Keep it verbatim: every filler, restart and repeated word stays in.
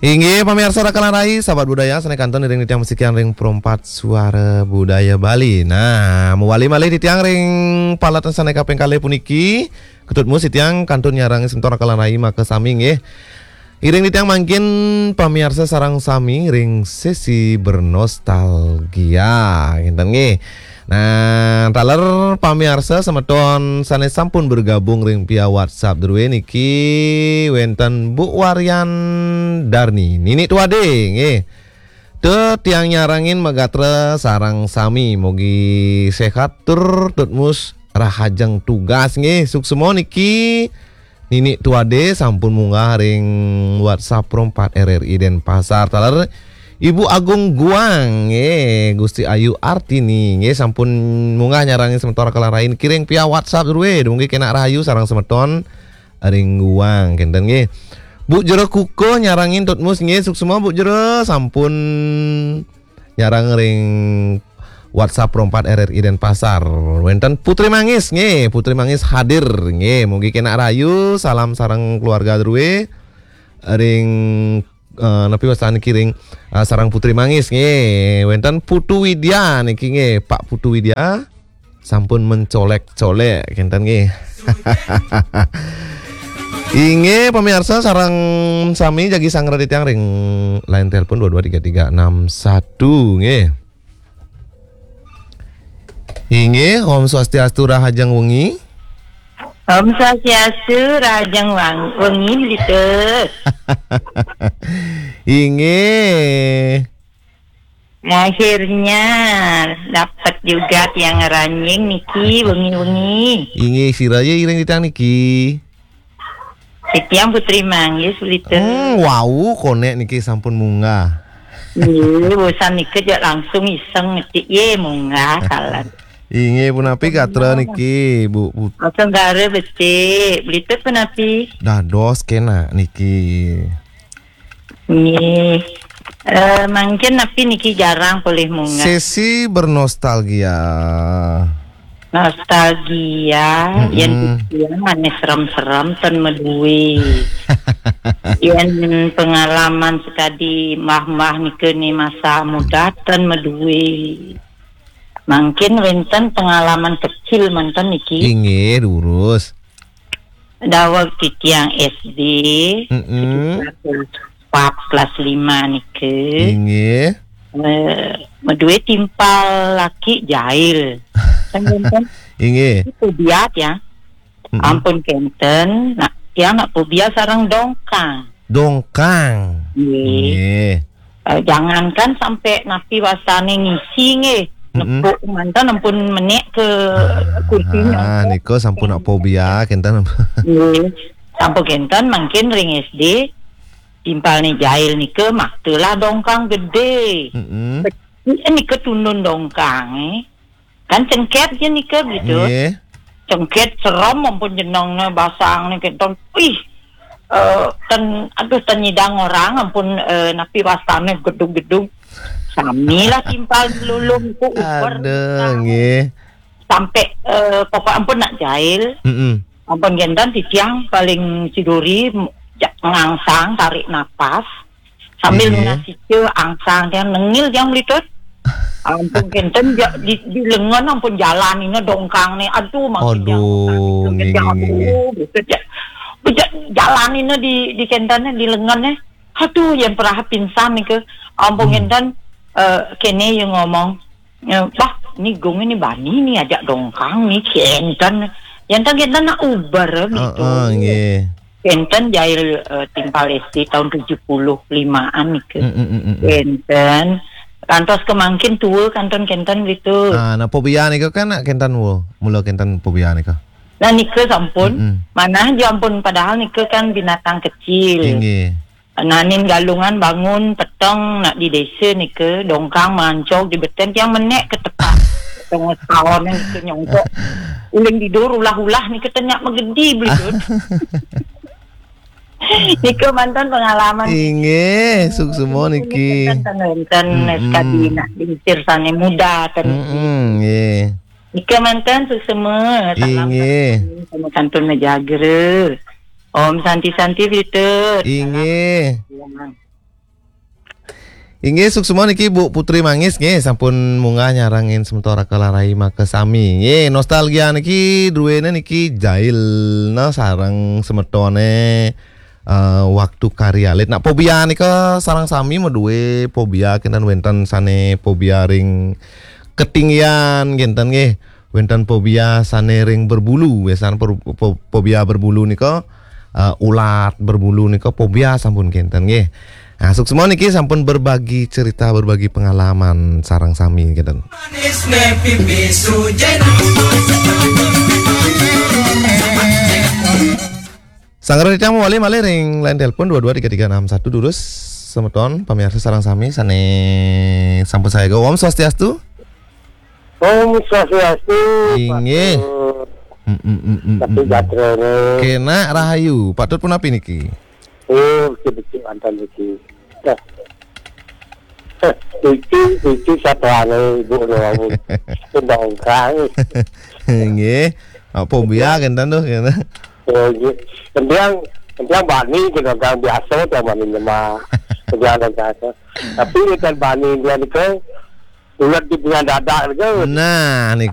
Inggih, pamiarsa Rakalan Rai, sahabat budaya, sané kantun iring titiang masikian ring Perempat Suara Budaya Bali. Nah, mawali malih titiang ring palet sané kaping kalih puniki. Ketut mus titiang kantun nyarengin semeton Rakalan Rai makasami nggih. Iring titiang mangkin pamiarsa sareng sami ring sesi bernostalgia. Kinten nggih. Nah, taler pamiarsa semeton sané sampun bergabung ring via WhatsApp drué niki wénten Bu Waryan Darni, Nini Tuade nggih. Tetiang nyarengin magatra sareng sami, mugi séhat tur tutmus rahajeng tugas nggih. Suksma niki Nini Tuade sampun munggah ring WhatsApp Pro empat R R I Denpasar. Taler Ibu Agung Guang, nggih, Gusti Ayu Artini, nggih, sampun munggah nyarengin semeton Rakalan Rai niki ring via WhatsApp drué, dumugi kenak rahayu sareng semeton ring Guang, kinten nggih. Bu Jero Kuko nyarengin tutmus nggih, suksma Bu Jero, sampun nyareng ring WhatsApp Pro empat R R I Denpasar. Wénten Putri Mangis nggih, Putri Mangis hadir nggih. Mugi kenak rahayu, salam sareng keluarga drué ring, eh, napi wastané niki ring, eh, sareng Putri Mangis nggih. Wénten Putu Widya niki nggih, Pak Putu Widya sampun mencolek-colek kinten nggih. Inggih pamiarsa sareng sami jagi sanggra titiang ring line telepon dua dua tiga tiga enam satu nggih. Inggih, Om Swastiastu, rahajeng wengi. Om Swastiastu, rahajeng wang-, wengi, Blitus. Inggih. Akhirnya dapat juga tiang ngranjing niki wengi-wengi. Inggih, sira ya iring titiang niki. Titiang Putri Manggis, Blitus. Hmm, wau, konek niki sampun munggah. Nggih, bosan nika jak langsung iseng ngetik ye munggah kalan. Inggih, punapi gatra niki, Bu, Bu? Senggara becik, Blitus punapi? Dados kenak niki. Nggih. Eh, mangkin napi niki jarang polih munggah. Sesi bernostalgia. Nostalgia, mm-mm, yen titiang ané serem-serem ten madue. Yen pengalaman sakadi mbah-mbah nika ni masa muda ten madue. Mangkin wénten pengalaman kecil manten niki. Inggih, durus. Daweg titiang S D, mm-mm, sekitar kelas empat, kelas lima nika. Inggih. Eh, madue timpal laki jail. Kan wénten? Inggih. Itu biat ya. Mm-mm. Ampun kenten, nak tiang nak pobia sareng dongkang. Dongkang. Nggih. Nggih. Eh, jangankan sampai napi wastané ngisi nggih. Mm-mm. Nepuk manten ampun menék ke kursinya. Ah, nika sampun nak pobia kenten. Nggih. Sampun kenten mangkin ring S D timpalné jail nika maktalah dongkang gedé. Mm-mm. Becik nika tundun dongkangé. Kan cengket ya nika, Blitus. Nggih. Cengket serem ampun jenengné basangné kenten. Ih, eh, ten, aduh, ten nyidang orang ampun, eh, napi wastané gedug-gedug. Samilah timpal lulung ku uber. Aduh, nggih. Sampai, eh, pokok ampun nak jail. Mm-mm. Ampun kenten titiang paling siduri, ja-, ngangsang tarik napas. Sambil, iya, nunas ica angsang tiang nengil tiang Blitus. Ampun kenten ja-, di, di lengen ampun jalanina dongkangné. Aduh, makin, aduh, jauh, nggih, nggih, nggih, aduh, Blitus ja-, ja-, jalanina di, di kentenné di lengenné. Aduh, yen perah pingsan nika. Ampun, hmm, kenten, eh, kéné ya ngomong. Ya, bah, ni Gung ini bani ni ajak dongkang ni kenten. Yen ten kenten nak uber gitu. Heeh, nggih. Kenten jail, eh, timpal S D tahun tujuh puluh limaan nika. Mm, mm, mm, mm, mm. Kenten. Kantos kemangkin tua kantun kenten gitu. Ah, nah, pobia nika kan nak kenten wo. Mula kenten pobia nika. Nah, nika sampun. Mm, mm. Manah ja ampun padahal nika kan binatang kecil. Inggih. Nanin galungan bangun peteng nak di desa nika, dongkang mancog di beten tiang menék ke tepak. Peteng saon nika nyongkok. Uling tidur ulah-ulah nika tenyak magedi Blitus. Nika mantan pengalaman. Inggih, suksma niki. Enten, enten, mm-mm, sekadi nak diusir sané muda, ten. Mm-mm, nggih. Nika mantan suksma, salam, inggih, sama kantun Mejagra. Om Santi Santi Blitus. Inggih. Salam. Inggih, suksma niki Bu Putri Manggis nggih, sampun munggah nyarengin semeton Raka Larai makasami. Nggih, nostalgia niki druene niki jail nah sareng semetone eh, waktu kari alit. Nah, fobia nika sareng sami madue fobia kenten, wenten sane fobia ring ketinggian kenten nggih. Wenten fobia sane ring berbulu, biasane per- fo- fobia berbulu nika eh, ulat berbulu nika fobia sampun kenten nggih. Nah, suksma niki sampun berbagi cerita, berbagi pengalaman sareng sami kenten. Manis ne pipi sujena. Sanggra titiang mawali malih ring line telepon dua dua tiga tiga enam satu, durus semeton pamirsa sareng sami sane sampun saega. Om Swastiastu. Om Swastiastu. Inggih. Patut. Mm, mm, mm, mm, Tapi mm, mm. Jatra ini. Kena rahayu. Patut punapi niki? Oh, becik-becik mantan niki. Dah. Iki, iki satuane ibu nu wau. Sendongkang. Nggih. Apa biar kenten tuh kena. Oh, nggih. Kentiang, kentiang bani kena kang biasa, kentiang bani nyema. Kentiang dan biasa. Tapi kentiang bani dia ni ke, ulat di punya dadak ni ke. Nah, ni